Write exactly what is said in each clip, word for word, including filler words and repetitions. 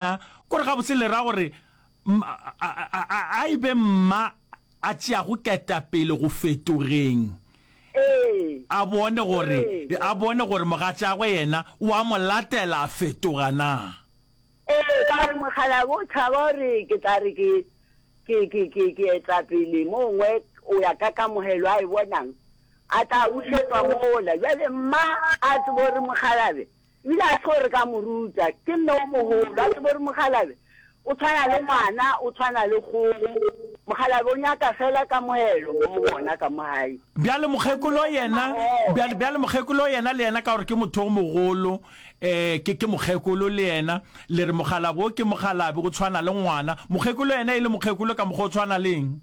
Kore gabotse le ra gore a e be mma a tšeago ketapele go fetogeng, a bone gore, a bone gore mogatšagwe yena o a mo latela a fetoga na? Ee, ka gore mokgalabje o tšhaba gore ke tla re ke, ke, ke, ke, ke etla pele mo gongwe o ya ka kamogelo a e bonang, a tla bušetšwa mola. Bjale mma a tsebe gore mokgalabje Ebile a se gore ka mo ruta, ke mme o mogolo, a tsebe gore mokgalabje o tshwana le ngwana, o tshwana le kgogo. Mokgalabje o nyaka fela kamogelo mo go bona ka mo gae. Bjale mokgekolo yena, bjale, bjale mokgekolo yena le yena ka gore ke motho o mogolo, eh, ke, ke mokgekolo le yena, le re mokgalabje o ke mokgalabje, o tshwana le ngwana. Mokgekolo yena e le mokgekolo ka mokgwa o tshwana le eng?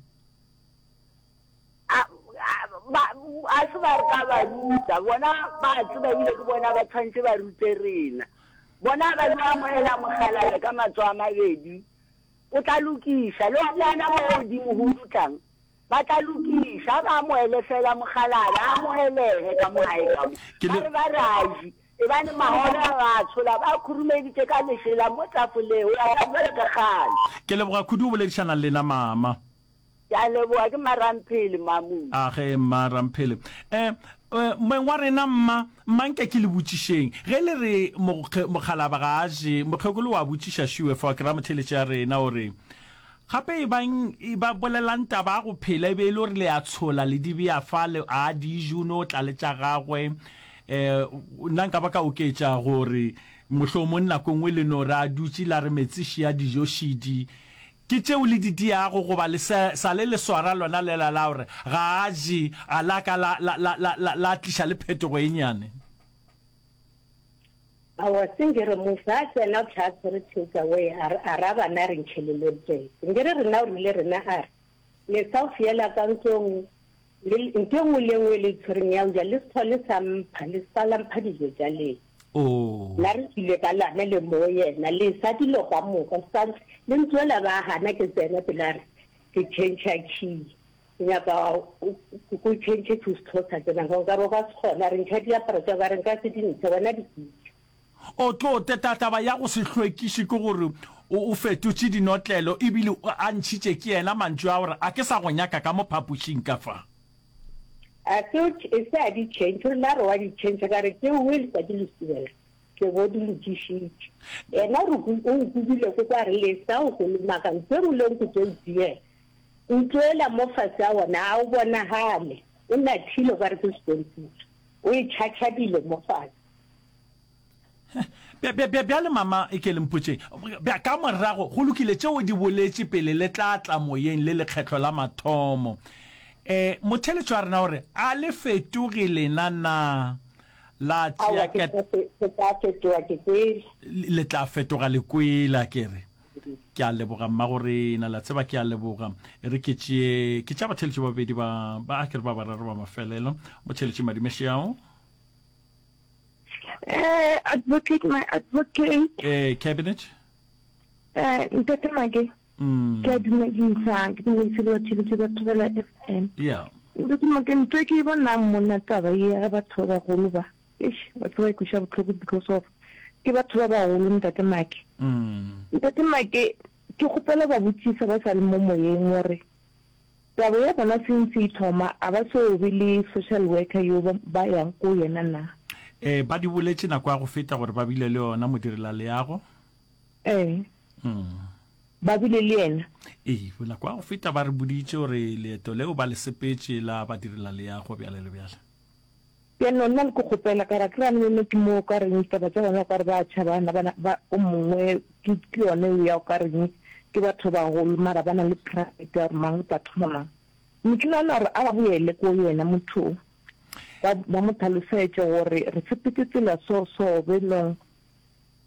A, a, ba, a se ba re ka ba ruta. Bona ba a tseba ebile ke bona ba tshwanetse ba rute rena. Bona ba yo amogela mokgalabje ka matsogo a mabedi. O tla lokiša. Le gona mo godimo go dutlang, ba tla lokiša. A ba amohele fela mokgalabje, a amogelege ka mo gae ka mo. Ba re ba re a je. Ebane mahobe a ba a tshola, ba a khurumeditše ka lešela mo tafoleng, go ya ka bjalo ka kgale. Ke leboga kudu go boledišana le lena, Mama. Ke a leboga, ke Mma Ramphele, Mmamoe. A ge, Mma Ramphele. Eh, eh, moeng wa rena, mma, mma nke ke le botšišeng. Ge le re mokge, mokgalaba ga a je, mokgekolo wa botšiša šiwe fa, ke ra motheeletši ya rena, o re, Gape e bang, e ba bolelang taba ya go phela, e be e le gore le a tshola, le di bea fa, le, a di je, o no tla le tša gagwe. Eh, nna nka ba ka oketša gore, mohlomong nako e nngwe le no re a dutše la re metsi šia, dijo šidi, Ke tšeo le di diago goba le sa, sa le le swara lona lela la gore ga a je, a la ka la, la, la, la, la, la tliša le phetogo e nnyane? Aowa, se nke re mo fa, a tsena o tla a tshwere take away, a re, a ra bana a re ntšheleleng tee. Nke re rena o rile rena a re, le sa o fiela ka ntlong, Le, ntho e nngwe le e nngwe e le tshwereng ya go ja, le se hlole sa mpha, le se ka la mpha dijo tša lena. Oh. La re tšwile ka lana le mo yena, le sa dilo ka moka, sa, le ntsoela ba gana ke tsena pele a re, ke tšhentšha key, ke nyaka o, o tšhentšhe key o se hlole sa tsena, nka re o ka se kgone, a re ntšha diaparo tša ka, re nka se di ntshe, wena di kitše. O tlo teta taba ya go se hlwekiše ke gore o fetotše dinotlelo ebile a ntšhitše ke yena mantšu a gore a ke sa go nyaka ka mo phapošing ka fa. A se o e se a di change, o rile a re wa di change ka re tšeo we letšatši le subela ke bo di lokišitše. Yena o re o nkubile ko kwa re lesa o kolomaka ntho e nngwe le nngwe ke tlo e tiela. Ntlo ela mo fase a wona a o bonagale o nathile o ka re ke sekontiri o e tšhatšhadile mo fase. Bjale, mama, e ke le mpotšeng. Bja, ka morago, go lokile, tšeo di boletše pele le tla tla moyeng le lekgetlo la mathomo. E, motheeletši wa rena o re, A le fetoge lena na? La tšea Aowa, ke tla fe, ke tla fetoga ke kwele. Le tla fetoga le kwele, a ke re. Ke a leboga, mmagorena. Le a tseba, ke a leboga. E re ke tšee, ke tšea batheeletši ba babedi ba, ba, a ke re ba bararo ba mafelelo. Motheeletši Madimešeao. Eh, advocate, my advocate. Eh, cabinet. Eh, ntate Make. Mm. Ke a dumedisa, ke dumedise le batheeletši ba Thobela F M. Yeah. Ntate Make, ntho e ke e bonang monna taba ye ya batho ba bagolo ba, eish, batho ba ikweša bohloko because of ke batho ba bagolo ntate Make. Mm. Ntate Make, ke kgopela ba botšisa ba sa le mo moyeng gore Taba ya bona since e thoma a ba so be le social worker yo ba yang ko yena na? Ee, ba di boletše nako ya go feta gore ba bile le yona modirelaleago. Ee. Ba bile le yena? Ee, nako ya go feta ba re boditše gore leeto leo ba le sepetše la badirelaleago bjale le bjale. Bjalo nna le ke kgopela ka re akere a ne ke mo o ka reng taba tša bona o ka re ba tšhabana bana ba o mongwe ke ke yone eo ya o ka reng ke batho bagolo mara ba na le pride ya gore mang o tla thoma mang. Ne ke nagana gore a ba boele ko yena motho o ba ba mo tlhalosetše gore re sepetse tsela so so belong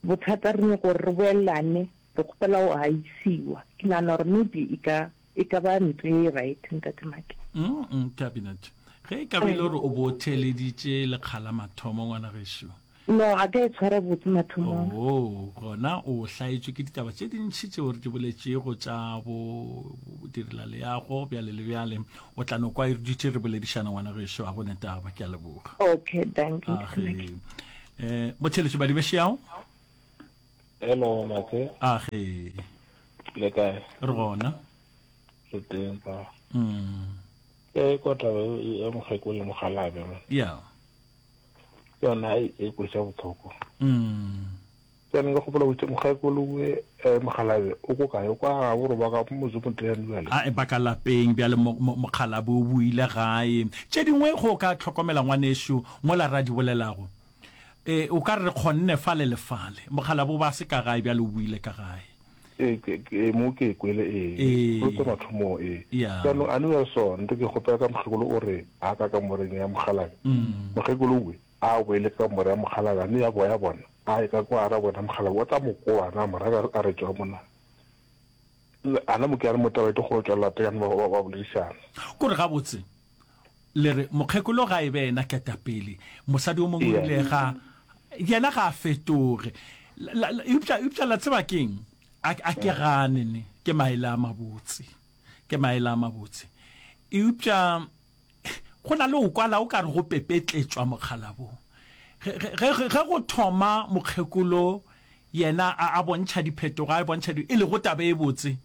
bothata re nyaka gore re boelane re kgopela go a isiwa ke nagana gore maybe e ka e ka ba ntho e right ntate Maki. Mm, cabinet. Ge e ka be e le gore o bo o theeleditše lekga la mathomo, ngwana gešo. No, ga ka e tshwara botse mathomong. Oo, gona o hlaetšwe ke ditaba tše dintši tšeo re di boletšego tša bo direlaleago bjale le bjale. O tla no kwa e re dutše re boledišana, ngwana gešo, ga go ne taba. Ke a leboga. Okay, dankie. Age. Eh, motheeletši Badibešeao. Hello, Make. Age. Le kae? Re gona. Re teng pa. Mm. Ke kwa taba ya mokgekolo le mokgalabje man. Yeah. Ke yona e e kweša bohloko. Mm. Ke nka gopola botse mokgekolo we eh, mokgalabje o ko kae? O kwa gabo gore ba ka motse bjale. A e baka lapeng bjale mokgalabje o boile gae. Tše dingwe go ka hlokomela ngwanešu mola ra di bolelago. E, o ka re re kgonne fale le fale. Mokgalabje o ba se ka gae bjale o boile ka gae. E, ke, ke, mo ke kwele ee. Ee. Go tse mathomo ee. Yeah. Jaanong a ne ya so nto ke kgopela ka mokgekolo o re a ka kamoreng ya mokgalabje. Mm. Mokgekolo we a boele ka kamore ya mokgalabje a ne ya boya bona. A ye ka kwa ra bona mokgalabje o tla mo koa na mora a re tšwa mona. Ana mo ke a re mo taba e tlo go tšwela pele ba ba ba boledišana. Kore gabotse le re mokgekolo ga e be yena ketapele, mosadi o mongwe o Yeah. ile ga yena ga a fetoge. La- la- Eupša eupša la tseba keng? A a ke gane ne ke maele a mabotse. Ke maele a mabotse. Eupša go na le o kwala o ka re go pepetletšwa mokgalabong. Ge ge ge ge go thoma mokgekolo yena a a bontšha diphetogo a bontšha di e lego taba e botse.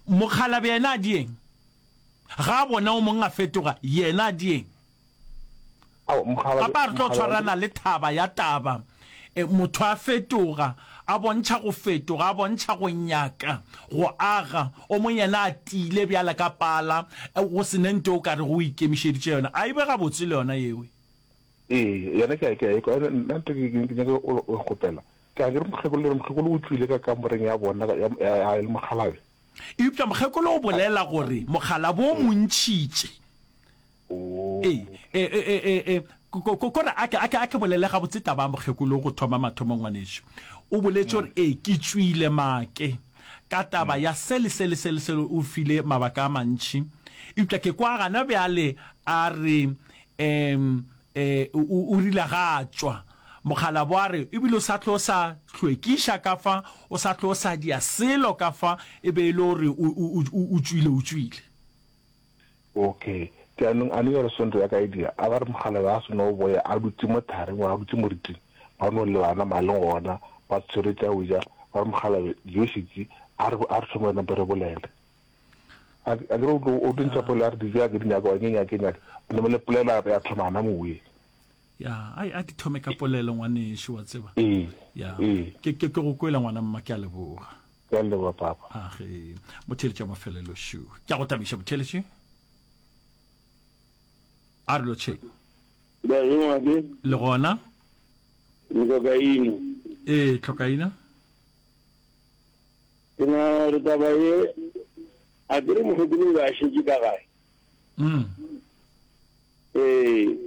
Mokgalabje yena a dieng? Ga a bona o mong a fetoga yena a dieng? Ao mokgalabje Gape a re tlo mokgalabje tshwarana le thaba ya taba. E, motho a fetoga, a bontšha go fetoga, a bontšha go nyaka, go aga, o mong yena a tiile bjale ka pala, e, go se ne nto o ka re go ikemišeditše yona. A e be gabotse le yona yewe. Ee, yena ke a ke a ekwa nna nto ke ke nyaka o o kgopela. Ke a ke re mokgekolo le re mokgekolo o tšwile ka kamoreng ya bona ya ya ya le mokgalabje. Eupša mokgekolo o bolela gore mokgalabje o mo ntšhitše. Oh. Ee, e, e, e, e, e, ko ko kore a ke a ke a ke bolele gabotse taba ya mokgekolo go thoma mathomo ngwanešu. O boletše gore ee ke tšwile make ka taba ya se le se le se le se o file mabaka a mantši. Eupša ke kwa gana bjale a re em eh o o rile ga a tšwa. Mokgalabje a re ebile o sa tlo sa hlwekiša ka fa, o sa tlo sa dia selo ka fa, e be e le gore o o o o tšwile o tšwile. Okay. Jaanong a ne ya re sonto ya ka e dia, a ba re mokgalabje a seno boya a dutse mo thareng a dutse moriting, ba no lebana maleng gona, ba tshwere tša go ja, ba re mokgalabje dijo šetše, a re a re thome nampe re bolele. A a ke re o tlo o tlo ntšha polelo a re dijo a ke di nyaka, wa ke nyake nyake. Name le polelo ya thoma gana mowe. Ya, ai a di thome ka polelo ngwanešu wa tseba. Ee. Ya. Ee. Ke ke ke go kwela ngwana mma ke a leboga. Ke a leboga papa. A ge motheletši wa mafelelo šu. Ke a go tabiša motheletši. A re lotšheng. Ngwake. Le gona? Tlhokaina. Ee, tlhokaina. Ke nagana gore taba ye a ke re mokgekolo o be a šetše ka gae. Mm. Ee.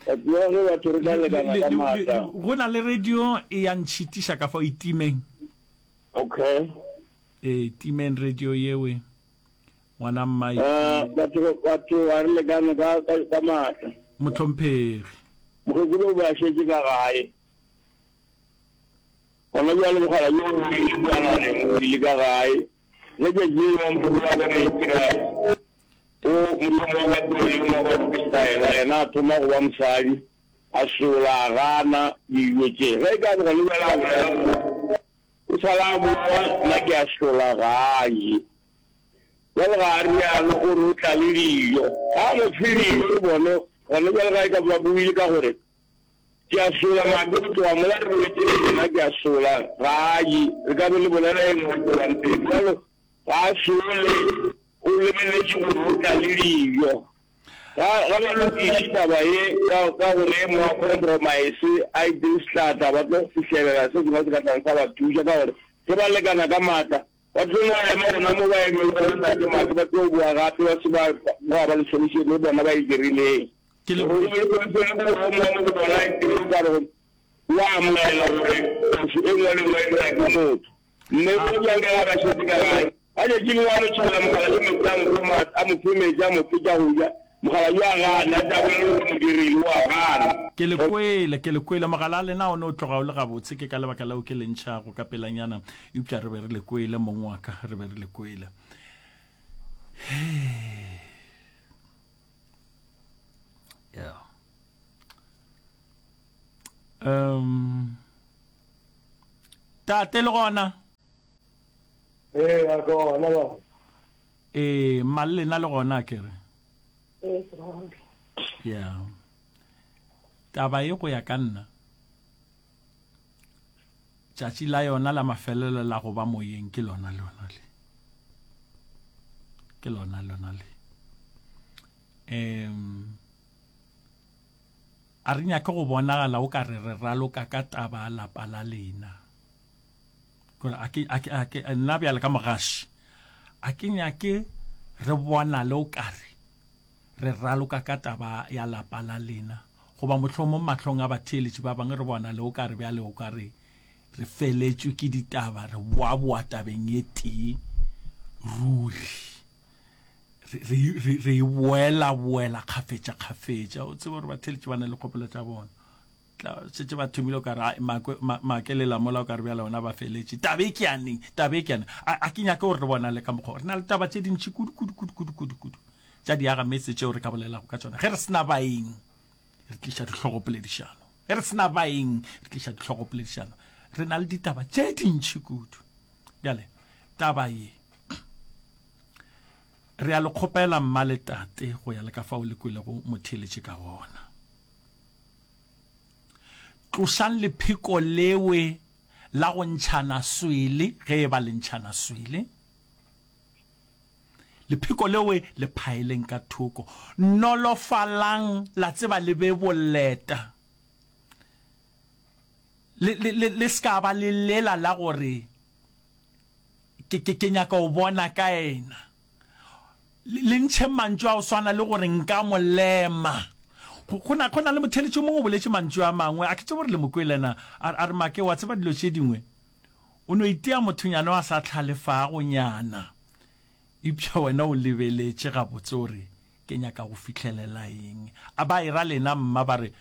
Batho ba ge batho re tla lekana ka maatla. Go na le radio e ya ntšhitiša ka fao e timeng. Okay. Ee, timeng radio yewe. Ngwana mma e Eh, batho batho ga re lekane ka ka ka maatla. Mohlomphegi. Mokgekolo o be a šetše ka gae. Gona bjale mogala yo o ile kua nageng o ile ka gae. Ge tšatši le lengwe mokgekolo a bona itira o mohlomongwe ka tlo le mongwe wa freestyle yena a thoma go ba mosadi a sola a gana dijo tše. Ge e ka re gona bjale a bolela gore o sala a boa nna ke a sola ga a je. Bjale ga a rialo o re o tla le dijo. Ga a mo fe dijo le bone gona bjale ga e ka ba buile ka gore ke a sola make go tloga mola re boletše le yena ke a sola ga a je. Re ka be le bolela e nngwe tšwelang pele. Bjalo ga a sole o lebeletše gore o tla le dijo. Ga ga ba lokiše taba ye ka ka gore e mongwe a compromise a itire sehlahla ba tlo fihlelela se sengwe se ka tlang sa ba thuša ka gore ge ba lekana ka maatla ba tlo no ema gona mo ba emeng gona ntate Make ba tlo boa gape ba se ba ba ba le solution e bona ba e dirileng. Ke le Gore le solution gore o mongwe mo go bona e teng o ka re o a amogela gore phošo e nngwe le nngwe e dira ke motho. Mme o bjang ka ga ba šetše ka gae. Ka tšatši lengwe a no tšhela mogala yo metsi a mo fe ma a mo fe metsi a mo fe tša go ja. Mogala yo a gana, a tla bolela gore mo dirile o a gana. Ke le kwele, ke le kwele. Mogala a lena o ne o tloga o le gabotse, ke ka lebaka leo ke le ntšhago ka pelanyana. Eupša re be re le kwele, mong wa ka, re be re le kwele. Yeah. Um, Tate le gona? Ee, a ke gona ba. Ee, mma le lena le gona ke re. Ee, ke gona. Yeah. Taba ye go ya ka nna, tšatši la yona la mafelelo la go ba moyeng ke lona lona le. Ke lona lona le. Um a re nyake go bonagala o ka re re raloka ka taba ya lapa la lena. Kore a ke, a ke, a ke, nna bjale ka mogaši, a ke nyake re bonale o ka re re raloka ka taba ya lapa la lena, goba mohlomong mahlong a batheeletši ba bangwe re bonale o ka re bjale o ka re re feletšwe ke ditaba, re boaboa tabeng e tee ruri. Re, re, re, re e boela-boela kgafetša-kgafetša. O tsebe gore batheeletši ba na le kgopolo tša bona. Tla, šetše ba thomile o ka re, ai, Makwe, Ma, Make le Lamola o ka re bjale ona ba feletše. Taba e ke ya neng? Taba e ke ya neng? A, a ke nyake gore re bonale ka mokgwa wo. Re na le taba tše dintši kudu, kudu, kudu, kudu, kudu, kudu tša diagametse tšeo re ka bolelago ka tšona. Ge re se na baeng, re tliša dihlogopoledišano. Ge re se na baeng, re tliša dihlogopoledišano. Re na le ditaba tše dintši kudu. Bjale, taba ye, re a le kgopela mma le tate go ya le ka fao le kwelego motheeletši ka gona. Tlošang lepheko lewe la go ntšhana swele, ge e ba le ntšhana swele. Lepheko lewe le phaeleng ka thoko. Nolofalang, la tseba le be boleta. Le, le, le, le se ka ba le lela la gore, Ke, ke, ke nyaka go bona ka yena. Le, le ntšhe mantšu a go swana le gore nka mo lema. Go, go na, go na le motheeletši yo mongwe o boletše mantšu a mangwe, a ke tsebe gore le mo kwele na, a, a re, Make, wa tseba dilo tše dingwe, o no itia mothonyana o a sa hlalefago nyana. Eupša wena o lebeletše gabotse o re, Ke nyaka go fihlelela eng? A ba era lena, mma, ba re,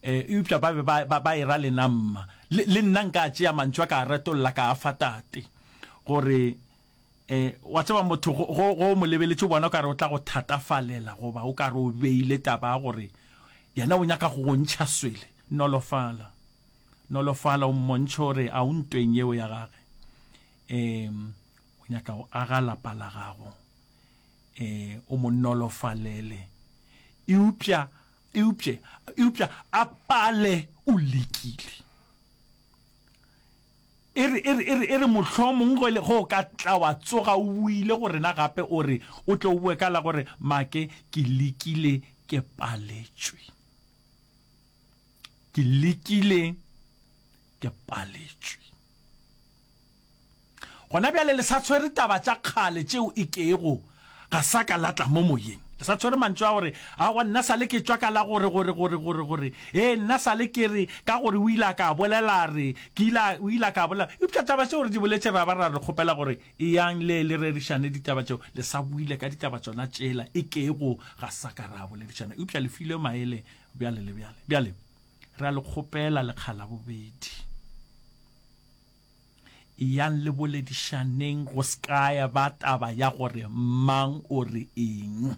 E, eupša ba be ba, ba, ba era lena, mma. Le, le nna nka tšea mantšu a ka a retolla ka a fa tate. Gore, e, wa tseba, motho go, go, go o mo lebeletše o bona o ka re o tla go thatafalela, goba o ka re o beile taba ya gore yena o nyaka go go ntšha swele. Nolofala. Nolofala, o mmontšhe gore a o ntweng yeo ya gage. E, o nyaka go aga lapa la gago, e, o mo nolofalele. Eupša, eupše, eupša a pale o lekile. E re, e re, e re, e re mohlomong ge le, ge o ka tla wa tsoga o boile go rena gape o re, o tle o boe ka la gore, Make, ke lekile, ke paletšwe. Ke lekile, ke paletšwe. Gona bjale le sa tshwere taba tša kgale tšeo e kego ga sa ka la tla mo moyeng. Le sa tshwere mantšu a gore, Aowa, nna sa le ke tšwa ka la gore, gore, gore, gore, gore. Ee, nna sa le ke re, ka gore o ile a ka a bolela a re, ke ile a, o ile a ka a bolela. Eupša taba tšeo re di boletše ra ba ra le kgopela gore eyang le le rerišane ditaba tšeo. Le sa boile ka ditaba tšona tšela e kego ga sa ka ra boledišana. Eupša le filwe maele bjale le bjale. Bjale, re a le kgopela lekga la bobedi. Eyang le boledišaneng go se ka ya ba taba ya gore mang o re eng.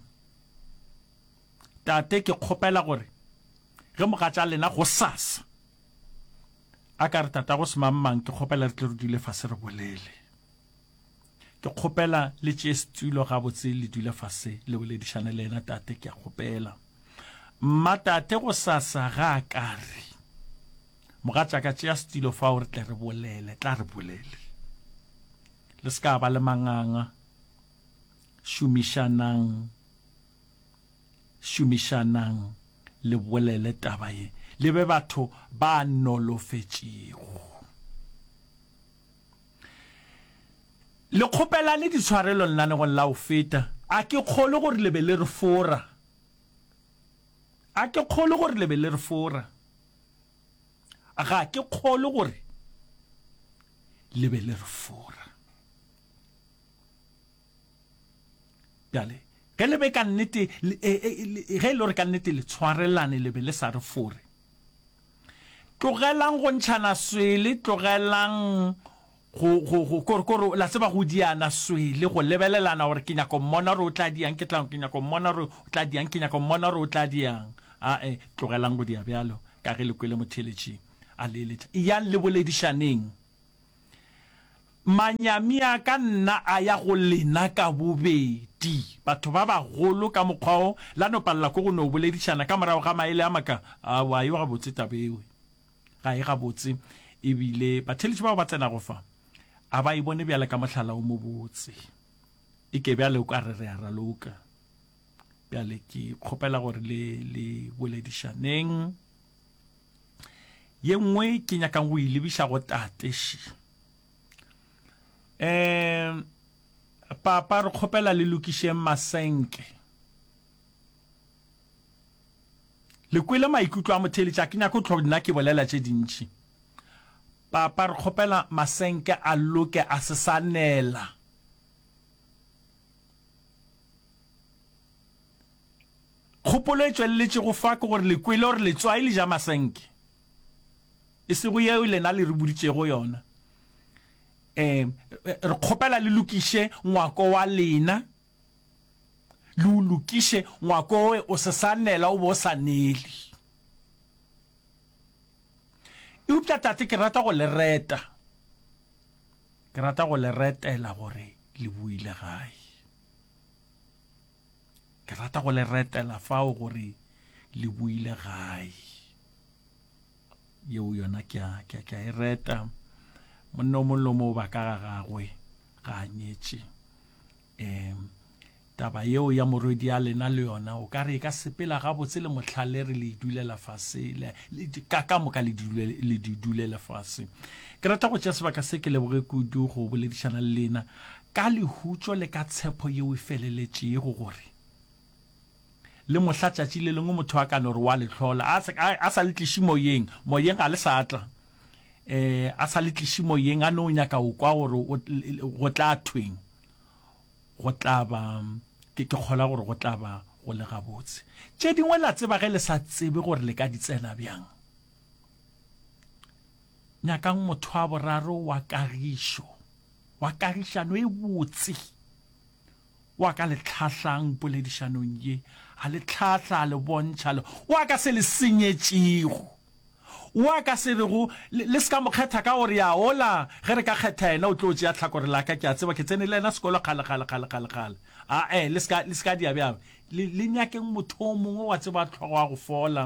Tate, ke kgopela gore ge mogatša lena gosasa a ka re tatago semangmang, ke kgopela re tle re dule fase re bolele. Ke kgopela le tšee setulo gabotse le dule fase le boledišane le yena, tate, ke a kgopela. Mma, tate gosasa ga a ka re. Mogatšaka, tšea setilo fao re tle re bolele. Tla re bolele. Le se ka ba le manganga. Šomišanang, šomišanang le bolele taba ye. Le be batho ba nolofetšego. Le kgopelane ditshwarelo lenanegong la go feta. A ke kgolwe gore le be le re fora. A ke kgolwe gore le be le re fora. Ga ke kgolwe gore le be le re fora. Bjale, ge le be ka nnete, e, e, e, ge e le gore ka nnete le tshwarelane le be le sa re fore, tlogelang go ntšhana swele, tlogelang go, go, go, kore, kore, la tseba, go diana swele, go lebelelana gore ke nyaka go mmona gore o tla diang, ke tla, ke nyaka go mmona gore o tla diang, ke nyaka go mmona gore o tla diang. Ae, tlogelang go dia bjalo, ka ge le kwele motheeletši a le eletša. Eyang le boledišaneng. Manyami a ka nna a ya go lena ka bobedi, batho ba bagolo ka mokgwa wo, la no palela ko go no boledišana ka morago ga maele a maka. Aowa, ga e gabotse taba ewe. Ga e gabotse. Ebile batheeletši bao ba tsenago fa, a ba e bone bjale ka mohlala o mobotse. E ke bjale o ka re re a raloka. Bjale ke kgopela gore le, le boledišaneng. Ye nngwe ke nyakang go e lebiša go tate še. Um papa re kgopela le lokišeng masenke. Le kwele maikutlo a motheeletši, a ke nyake go tlo nna ke bolela tše dintši. Papa re kgopela masenke a loke a se sa nela. Kgopolo e tšweleletšego fa ke gore le kwele gore letswai le ja masenke. E sego yeo lena le re boditšego yona. Um re kgopela le lokiše ngwako wa lena, le o lokiše ngwako owe o se sa nela o be o sa nele. Eupša tate ke rata go le reta, ke rata go le retela gore le boile gae. Ke rata go le retela fao gore le boile gae. Yeo yona ke a, ke a, ke a e reta. Monna o mongwe le o mongwe o ba ka ga gagwe, ga a nyetše. Um taba yeo ya morwedi ya lena le yona o ka re e ka sepela gabotse le mohlale re le dulela fase, le, le, ka, ka moka le dule, le di dulele fase. Ke rata go tšea sebaka se ke leboge kudu go boledišana le lena ka lehutšo le ka tshepo yeo e feleletšego gore le mohla tšatši le lengwe motho a ka no re wa le hlola, a se, a, a sa le tliše moyeng, moyeng ga le sa tla, eh, a sa le tliše moyeng, a no nyaka go kwa gore o, go tla thweng, go tla ba, ke, ke kgola gore go tla ba go le gabotse. Tše dingwe la tseba ge le sa tsebe gore le ka di tsena bjang. Nyakang motho wa boraro wa kagišo, wa kagišano e botse, wa ka le tlhahlang poledišanong ye, a le tlhahla, a le bontšha, le, wa ka se le senyetšego, wa ka se rego, le, le se ka mo kgetha ka gore ya ola, ge re ka kgetha yena o tlo tšea tlhakore la ka, ke a tseba ke tsene le yena sekolo kgale, kgale, kgale, kgale, kgale. Ae, le se ka, le se ka dia bjalo. Le, le nyakeng motho o mongwe wa tseba hlogo wa go fola,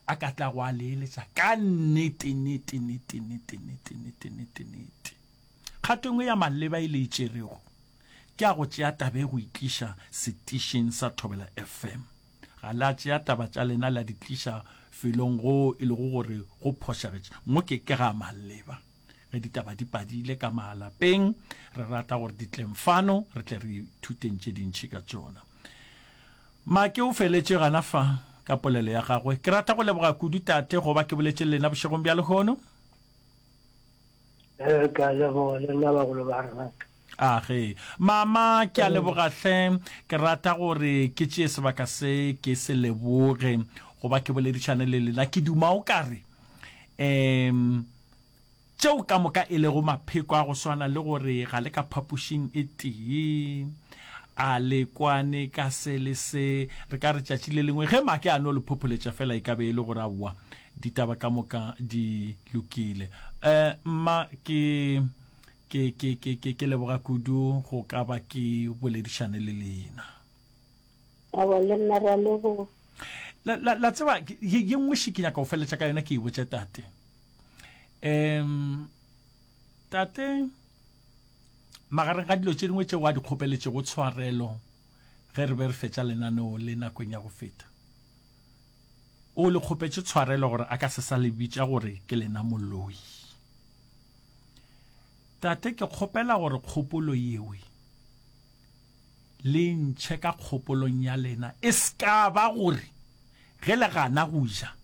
a ka tla go a le eletša ka nnete, nnete, nnete, nnete, nnete, nnete, nnete, nnete. Kgato e nngwe ya maleba e le e tšerego ke a go tšea taba e go itliša setišing sa Thobela F M. Ga la tšea taba tša lena la di tliša felong go e lego gore go phošagetše. Mo ke ke ga maleba. Ge ditaba di padile ka malapeng, re rata gore di tleng fano, re tle re ithuteng tše dintši ka tšona. Make o feletše gana fa ka polelo ya gagwe. Ke rata go leboga kudu tate go ba ke boletše le lena bošegong bja lehono. Eh, ka leboga le nna bagolo ba rena. Age. Mama, ke a leboga hle. Ke rata gore ke tšee sebaka se ke se leboge go ba ke boledišane le lena. Ke duma o ka re um tšeo ka moka e lego mapheko a go swana le gore ga le ka phapošing e tee, a le kwane ka se le se, re ka re tšatši le lengwe ge make a no le phopholetša fela e ka be e le gore aowa ditaba ka moka di lokile. Um mma, ke ke ke ke ke ke leboga kudu go ka ba ke boledišane le lena. Aowa, le nna re a leboga. La, la, la tseba, ye, ye nngwe še ke nyaka go feletša ka yona ke e botše tate. Um tate, magareng ga dilo tše dingwe tšeo a di kgopeletšego tshwarelo ge re be re fetša lenaneo le nakong ya go feta, o le kgopetše tshwarelo gore a ka se sa le bitša gore ke lena moloi. Tate, ke kgopela gore kgopolo yewe le ntšhe ka kgopolong ya lena, e se ka ba gore ge le gana go ja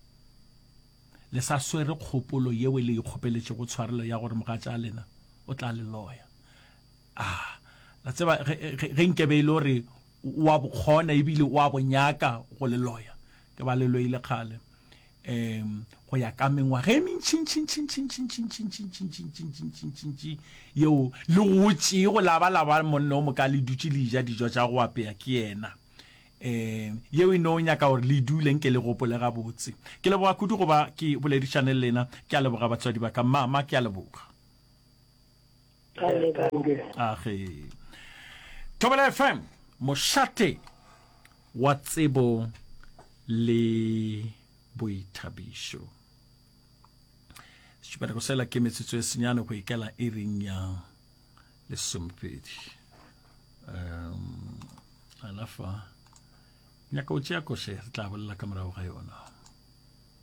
le sa swere kgopolo yeo le ikgopeletšego tshwarelo ya gore mogatša lena o tla le loya. Ah, la tseba ge, ge, ge nkebe e le gore o a bokgona ebile o a bonyaka go le loya, ke ba le loile kgale. Um go ya ka mengwaga e mentšintšintšintšintšintšintšintšintšintšintšintšintšintši yeo le gotšego la ba la ba monna o moka le dutše le ja dijo tša go apea ke yena. Um yeo e no nyaka gore le dule nke le gopole gabotse. Ke leboga kudu go ba ke boledišane le lena. Ke a leboga batswadi ba ka. Mama, ke a leboga. Age. Thobela F M, mošate wa tsebo le boithabišo. Šupanako sela ke metsotso e senyane go ikela iring ya lesomepedi. Um, alafa nyaka o tšea koše, re tla bolela ka morago ga yona.